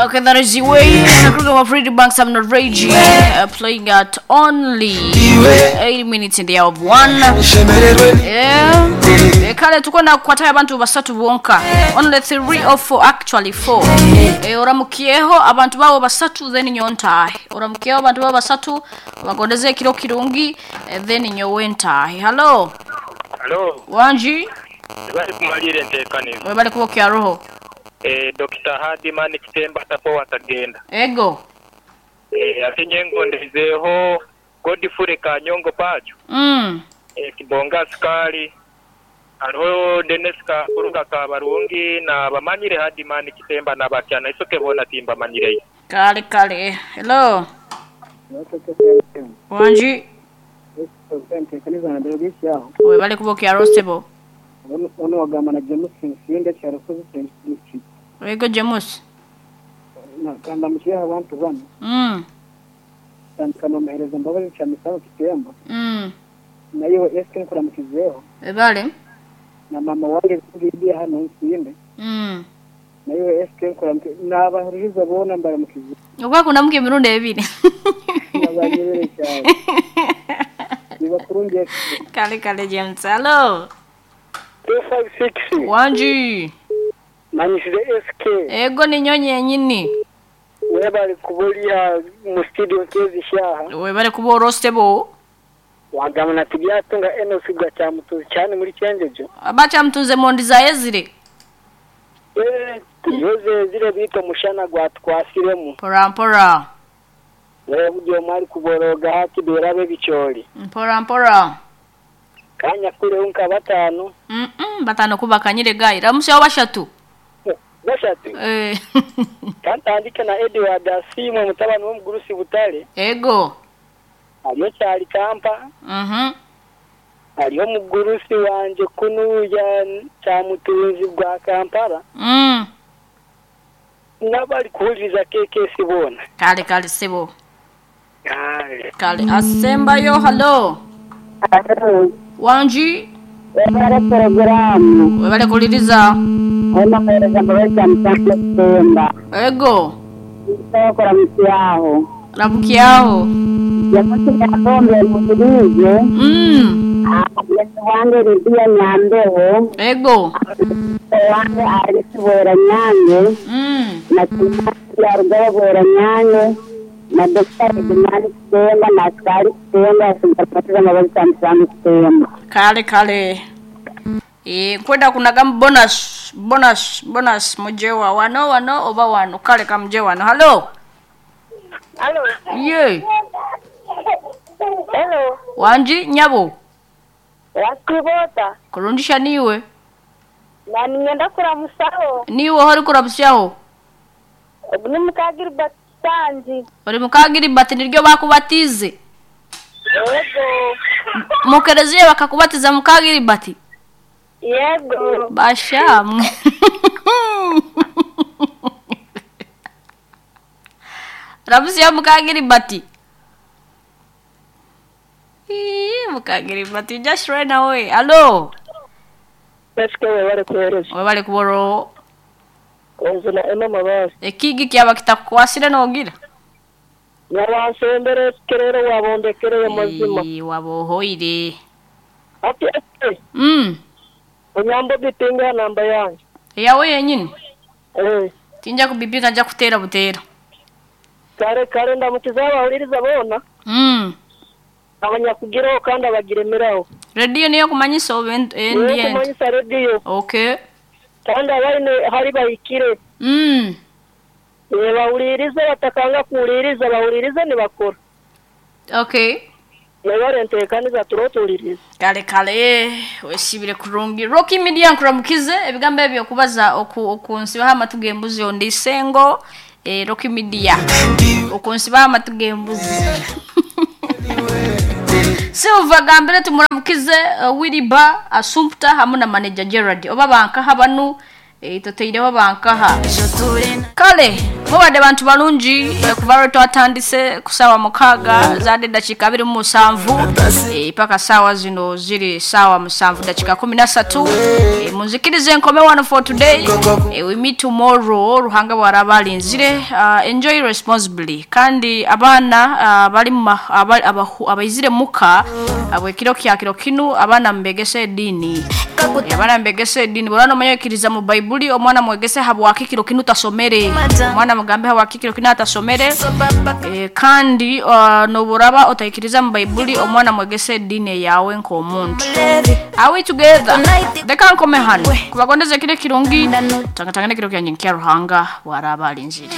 Okay, that is the way. Nakruga of Radio Banks, I'm not raging. Playing at only 8 minutes in the hour of 1. Yeah. Kale tuko na kukwatayo abantu basatu bonka. Only 3 or 4, actually 4. Oramukieho abantu babo basatu then nyontaahe. Oramukieho abantu babo basatu bagondeze ekiro kirungi then nyowe ntaahe. Hello. Hello. Wanji. Bali kumalira enteekanizo. Webale kuba okyaroho. Dr. Hadiman Kitemba tapo watagenda. Ego. Ate nyengondezeeho Godfrey Kanyongo Pacho. Kibonga Sukali. Hariho Dennis Kakuruga Kabarungi na bamanyire Hadiman Kitemba na bakyana isoke bona timbamanyireyo. Kale kale. Hello. Wanji. Webale kuba okyaroho sebo. Ono wagamba na James Nsinde Kyarusozi District. Ego James. Nakamba mukiha abantu bano. Tandika nomuhereza Mbabazi Kyamisabo Kitemba. Nayo SK nkuramukizeho. Ebale. Na mama wange Lidia hano Nsinde. Nayo SK nkuramukize n'abahuriza bona mbaramukize. Okwakunda muke emirundi ebiri. Nabanyebere cyane. Nibakurungi. Kale kale James. Hello. 256. Wanji. Manyishire SK. Ego ni nyonyi yenyini. Webale kubulia mu studio nkezi shaha. Webale kuba orosebo. Wagamba na tibyatunga Enos gwa Kyamutuzi cyane muri Cyenjejo. Abacyamutuze mu ndiza yezire. Yoze zire bito mushana gwa twasiremu. Mpora mpora. Wewe bugiye mwari kuboroga hati berabe bicyori. Mpora mpora. Kanya kure unka batano. Batano kubakanyire gai. Ramusha bashatu. Bashatu. Kantandike na Edward Asimwe mutabani w'omugurusi Butale. Ego. Aliyo cyari Kampa. Aliyo mugurusi wanje kunuya Kyamutunzi bwa Kampala. Nabali kuhuliriza KKC bona. Kale kale sebo. Kale. Kale asembayo hello. Hello. Wanji. Webale programu. Webale kuliriza. Wemahereza Mbabazi Kyamusango Kitemba. Ego. Sokora mukyaho. Rabukiaho. Yamusi yakombe mukirize. Yesu wange Lidia Nyambeho. Ego. Wange Alisi Bwera Nyange. Na Kimasi ya Rugaba Bwera Nyange. Na Dr. Edimani Kitemba na Askari Kitemba Mbabazi Mbabazi Kyamusango Kitemba. Kale kale. Kwenda kunaga bonus bonus bonus mujewa wano wano oba wano kale kamje wano. Hello. Hello. Ye. Hello. Wanji nyabo. Wakibota. Kurundisha niwe. Na ningenda kuramusaho. Niwe hori kuramusaho. Ni mukagiri batanji. Ori mukagiri bati niryo bakubatize. Yego. Mukereziye bakakubatiza mukagiri bati. Yego. Bashamwe. Rabusiya mukagiri bati. Mukagiri bati just right away. Hello. SK webale kuhereza. Webale kuboro. Onzina eno mabasi. Ekigi kyaba kitakukwasire nogira. Nyawansembere kerero wabondekereye mazima. Wabohoire. Ati SK. Onyambo bitinga namba yange. Yawe yenyini. Tinja kubibika nja kutera butera. Kare kare ndamukiza abahuririza bona. Abanyakugiraho kandi abagiremeraho. Radio niyo kumanyisa obe Niyo kumanyisa radio. Okay. Kandi abaine hari bahikire. Bahuririza batakanga kuhuririza bahuririza nibakora. Okay. Nabarentekaniza turotuririza. Kale kale wesibire kurungi. Rocky Media nkuramukize ebigambo ebyo kubaza okunsibaho amatu g'embuzi ondi sengo Rocky Media. Okunsibaho amatu g'embuzi. Silva gambire tumuramukize Wiliba Asumpta hamwe na manager Gerard. Oba bankaha banu toteireho bankaha. Kale. Mubadde bantu balungi kuva lwe twatandise ku ssaawa 6 zaadde eddakiika 27 paka ssaawa zino ziri ssaawa 7 dakiika 13. Munzikirize nkome wano for today. We meet tomorrow Ruhanga bw'araba alinzire. Enjoy responsibly kandi abaana bali abaizire muka abwekiro kya kiro kinu abaana mbegese eddiini. Abaana mbegese eddiini bw'olaba n'omanyikiriza mu Baibuli omwana mwegese habwaki kiro kinu tasomere. Omwana mugambe habwaki kiro kinu atasomere. Kandi noburaba otayikiriza mu Baibuli omwana mwegese eddiini eyawe nk'omuntu. Are we together? Reka nkome hano kubagondeza kire kirungi tangatangane kiro kyanjye nkya Ruhanga bw'araba alinzire.